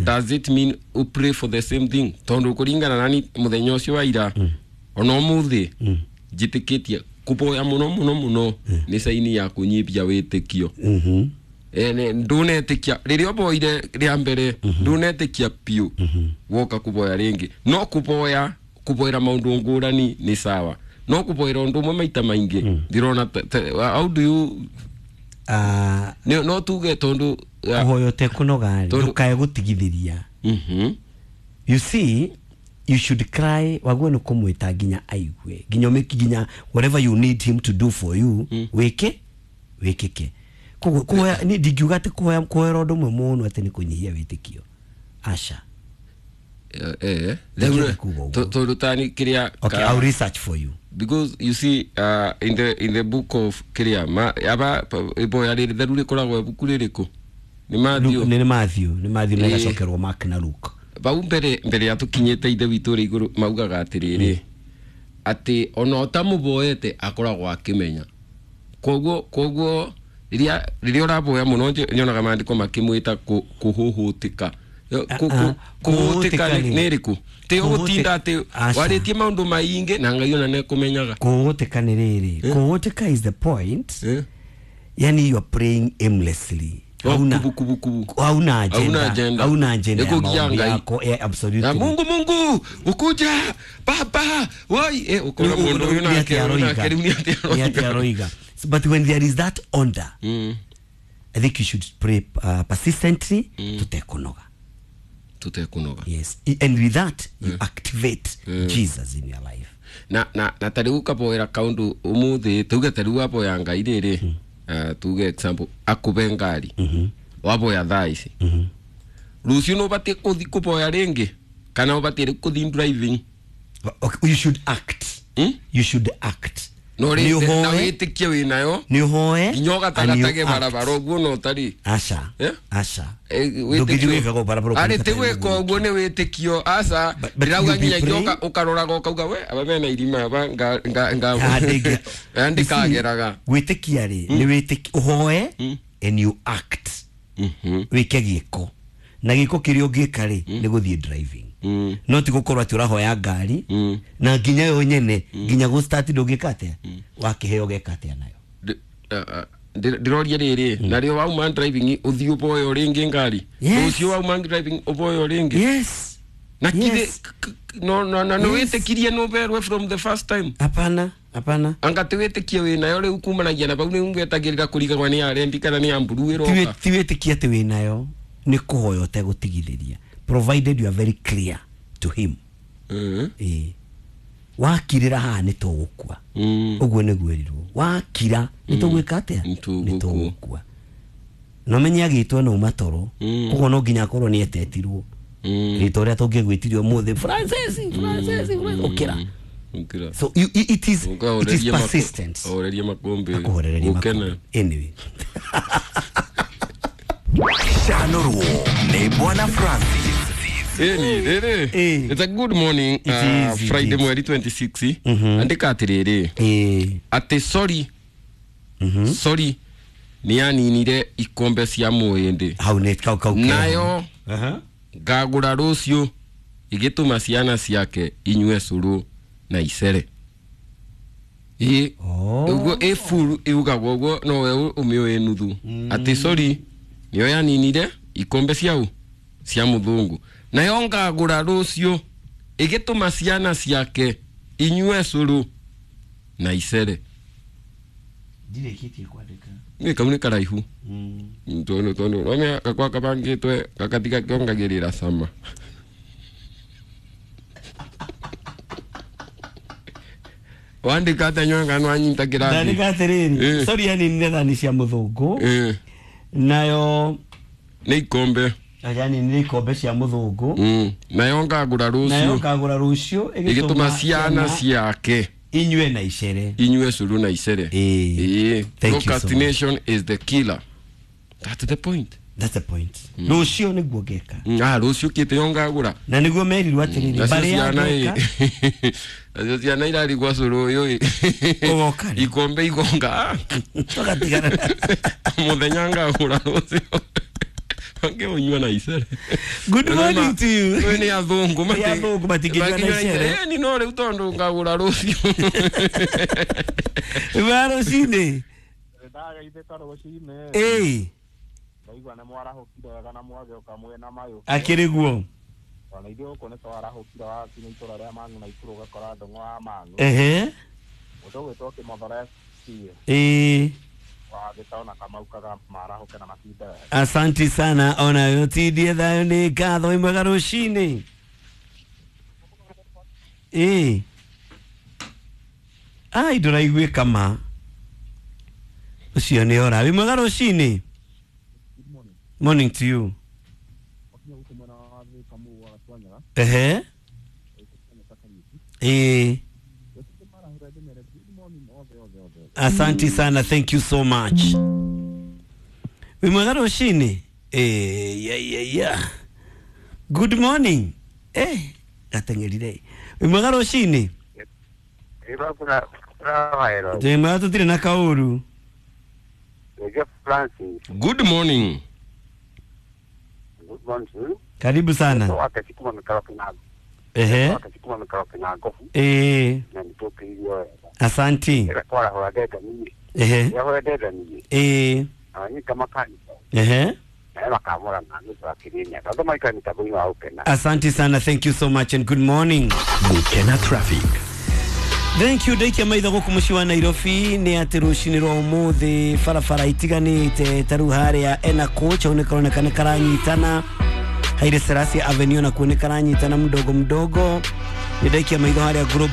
Does it mean you pray for the same thing? Tondu kuringana nani muthenya ucio wa ira ona umuthi njitikitie kuboya muno muno muno ni saini ya kunyibia witikio. Ndunetikia riria oboire ria mbere ndunetikia piu woka kuboya ringi no kuboya kuboera maundu ngurani ni sawa no kuboera undu umwe maita maingi ndirona how do you no tuge tondu kuhoya tekunoga ndukae gutigithiria. You see, you should cry waguo ni kumwita nginya aigue nginya umiki nginya whatever you need him to do for you wike wikike. Kuhoya ni ndingiuga ati kuhoya kuhoera undu umwe muno ati ni kunyihia witikio aca. Tondu tani kiria. Okay, I'll research for you. Because you see, in the book of kiria ma aba iboya riri theru rikoragwo ibuku ririku ni Matthew. Ni Matthew, ni Matthew na gacokerwo Mark na Luke. Bau mbere ya tukinyite ithe witu ri iguru maugaga atiriri ati ona utamuboete akoragwo akimenya. Koguo riria uraboya muno nyonaga maandiko makimwita kuhuhutika. Kuhuhutika ni riku ti ugutinda ati waritie maundu maingi na Ngai ona nekumenyaga. Kuhuhutika ni riri. Kuhuhutika is the point. Yani you are praying aimlessly. Hauna agenda. Hauna agenda yako. Yeah, absolutely. Na Mungu Mungu ukuja baba woi ukora mundu uyu nake aroiga. But when there is that order, I think you should pray persistently tutekunoga. Tutekunoga. Yes, and with that you activate Jesus in your life. Na na na tari ukaboera kaundu umuthi tuge tari waboya Ngai riri. Tuge example akube ngari waboya thaa ici rucio no batie kuthi kuboya ringi kana ubatie kuthi driving. Okay, you should act. You should act. No ri na witikie wi nayo ni uhoe nginya ugatagatage barabara uguo no tari aca aca ndungithiĩ barabara ari ti gwika uguo ni witikio aca ndirauga nginya ngioka ukaroraga ukauga we aba mena irima aba nga nga ndikageraga gwitikia ri ni witikie uhoe and you act. Wike giko na giko kiria ungika ri ni guthie driving. No ti gukorwo ati urahoya ngari na nginya yo nyene nginya gu start ndungika atia wakiheo geka atia nayo ndiroria riri nario wauma driving uthi uboyo ringi ngari ucio wauma driving uboyo ringi. Yes. Na kire no no no no witikirie no berwe from the first time. Hapana hapana anga ti witikie wi nayo riu kumanagia na bau ni ungwetagirira kurigagwa ni arendi kana ni amburu iroka ti witikie ati wi nayo ni kuhoya utegũtigithĩria provided you are very clear to him. Wakirira haha nĩ tũgũkua. Ũguo nĩguo ĩrirwo wakira nĩ tũgwĩka atĩa nĩ tũgũkua. No menye agĩtwo no matoro koguo no nginya akorwo nĩ etetirwo rĩtwa rĩrĩa tũngĩgwĩtirio ũmũthĩ Francis Francis ũkĩra. So you, it is persistent. Oreria makombe. Akũhorereria. Anyway. Chanoro ne Bwana Francis. It's a good morning. Friday mweri 26. Andika atiriri. Ati sorry. Sorry. Ni aninire ikombe cia muindi. Hau ne kau kau. Nayo. Ngagura rucio igituma ciana ciake inyue curu na icere. Uguo ifuru iugagwo uguo no we umiũĩ nuthu. Ati sorry niyo yaninire ikombe ciau cia muthungu nayo ngagura rucio igituma ciana ciake inyue curu na icere. Ndirekitie kwandika ni kau ni karaihu tondu tondu romea gakwa kabangitwe gakatiga kiongagirira sama. Wandika atanyonga no anyita kirathi. Ndandika atiriri sorry yaninire thani cia muthungu nayo ni ikombe yani ni ikombe cia muthungu nayo ngagura rucio nayo ngagura rucio igituma ciana ciake inyue na icere inyue curu na icere. Procrastination is the killer. That's the point. That's the point. Rucio niguo ngeka. Rucio kite yo ngagura na niguo merirwo atiriri bari ya ngeka nacio ciana irarigwa curu uyu ugoka ikombe igonga tugatigana muthenya ngagura rucio Angĩũnyua na icere. Good morning to you. Nĩ nĩ athũngũ. Nĩ athũngũ matingĩnyua na icere. Ni no rĩu tondũ ngagũra rũciũ. Wĩmwega rũcinĩ. Ndagaithĩka rũcinĩ. Ĩĩ. Ndaigua nĩ mwarahũkire wega na mwagĩũka mwĩna mayũ. Akĩrĩ guo. Ona ithuĩ gũkũ nĩ twarahũkire wakinya itũra rĩa Mang'u na Ikuru ũgakora ndũng'ũ wa Mang'u. Ehe. Mũndũ ũgwĩtwo Kĩmothore FC Ĩĩ. wa Gĩtao na Kamau kaga marahũke na matinde wega. Asanti sana ona tindie thayũ nĩ ngatho. Wĩ mwega rũcinĩ. Ĩĩ. Ai, ndũraiguĩka ma ũcio nĩ ora. Wĩ mwega rũcinĩ. Morning to you. Ehe. Ĩĩ. Asanti sana, thank you so much. Wĩ mwega rũcinĩ. Eh, yeah. Good morning. Eh, gateng'erire. Wĩ mwega rũcinĩ. Ndĩ mwega tũtirĩ na kaũru. Francis, Good morning. good morning to you. Karibu sana. Wakachukuma mikaro kinago. Ehe. Wakachukuma mikaro kinago. Ĩĩ. Na nitũkĩirio wega. Asanti. Ĩra kwarahũra ndenda niĩ. Ehe. Yahũra ndenda niĩ. Ĩĩ. Anyita makanitha. Ehe. Na makamũra na nĩ twakĩrĩ Andũ maikara mĩtambo-inĩ wa gũkena. Asanti sana, thank you so much and good morning. Gukena Traffic. Thank you. Ndaikia maitho gũkũ mũciĩ wa Nairobi nĩ atĩ rũcinĩ rwa ũmũthĩ barabara itiganĩte ta rĩu harĩa ena coach hau nĩ karoneka nĩ karanyitana. Haile Selassie Avenue nakuo nĩ karanyitana mdogo mdogo. Nĩ ndaikia maitho harĩa Global.